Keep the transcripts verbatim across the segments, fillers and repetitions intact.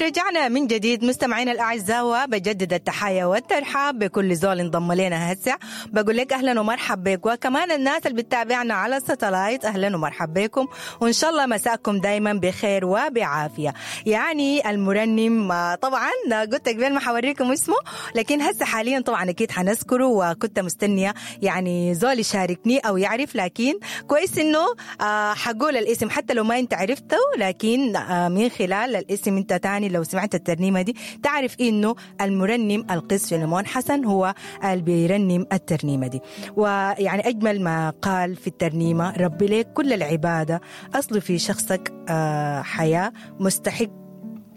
رجعنا من جديد مستمعينا الاعزاء، وبجدد التحايا والترحاب بكل زول انضم لنا هسه. بقول لك اهلا ومرحبا بك، وكمان الناس اللي بتتابعنا على الستلايت اهلا ومرحبا بكم، وان شاء الله مساكم دايما بخير وبعافيه. يعني المرنم طبعا قلت قبل ما حوريكم اسمه، لكن هسه حاليا طبعا اكيد حنذكره، وكنت مستنيه يعني زول يشاركني او يعرف، لكن كويس انه حقول الاسم حتى لو ما انت عرفته، لكن من خلال الاسم انت تاني لو سمعت الترنيمة دي تعرف إنه المرنم القس فيلمون حسن هو اللي بيرنم الترنيمة دي. ويعني أجمل ما قال في الترنيمة: ربي لك كل العبادة، أصل في شخصك حياة، مستحق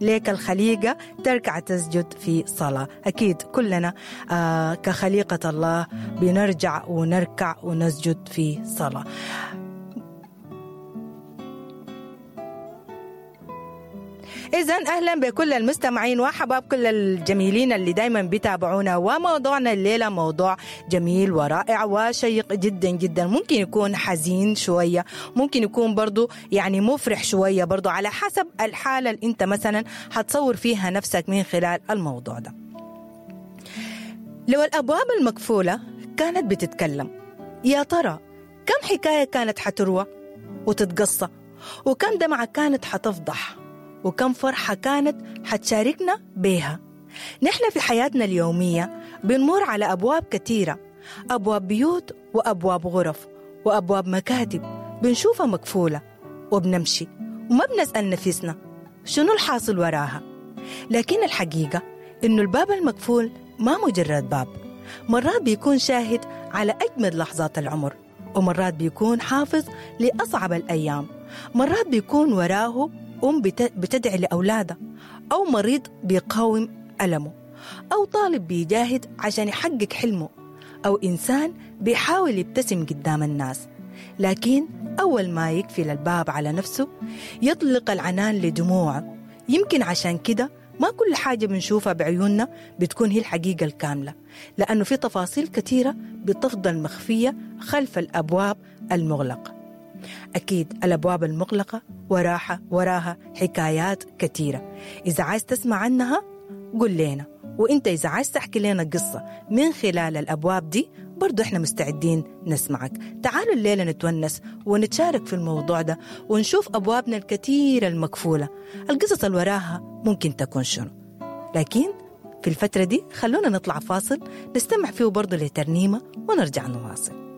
ليك الخليقة تركع تسجد في صلاة. أكيد كلنا كخليقة الله بنرجع ونركع ونسجد في صلاة. إذن أهلا بكل المستمعين وحباب كل الجميلين اللي دايما بيتابعونا، وموضوعنا الليلة موضوع جميل ورائع وشيق جدا جدا، ممكن يكون حزين شوية، ممكن يكون برضو يعني مفرح شوية، برضو على حسب الحالة اللي انت مثلا هتصور فيها نفسك من خلال الموضوع ده. لو الأبواب المقفولة كانت بتتكلم، يا ترى كم حكاية كانت حتروى وتتقصى، وكم دمعة كانت حتفضح، وكم فرحة كانت حتشاركنا بيها. نحن في حياتنا اليومية بنمر على أبواب كثيرة، أبواب بيوت وأبواب غرف وأبواب مكاتب بنشوفها مقفولة وبنمشي وما بنسأل نفسنا شنو الحاصل وراها. لكن الحقيقة إنه الباب المقفول ما مجرد باب، مرات بيكون شاهد على أجمل لحظات العمر، ومرات بيكون حافظ لأصعب الأيام، مرات بيكون وراه أم بتدعي لأولادها، أو مريض بيقاوم ألمه، أو طالب بيجاهد عشان يحقق حلمه، أو إنسان بيحاول يبتسم قدام الناس، لكن أول ما يقفل الباب على نفسه يطلق العنان لدموعه. يمكن عشان كده ما كل حاجة بنشوفها بعيوننا بتكون هي الحقيقة الكاملة، لأنه في تفاصيل كثيرة بتفضل مخفية خلف الأبواب المغلقة. أكيد الأبواب المغلقة وراها وراها حكايات كثيرة، إذا عايز تسمع عنها قل لنا، وإنت إذا عايز تحكي لنا قصة من خلال الأبواب دي برضو إحنا مستعدين نسمعك. تعالوا الليلة نتونس ونتشارك في الموضوع ده، ونشوف أبوابنا الكثيرة المقفولة، القصص اللي وراها ممكن تكون شنو. لكن في الفترة دي خلونا نطلع فاصل نستمع فيه برضو لترنيمة ونرجع نواصل.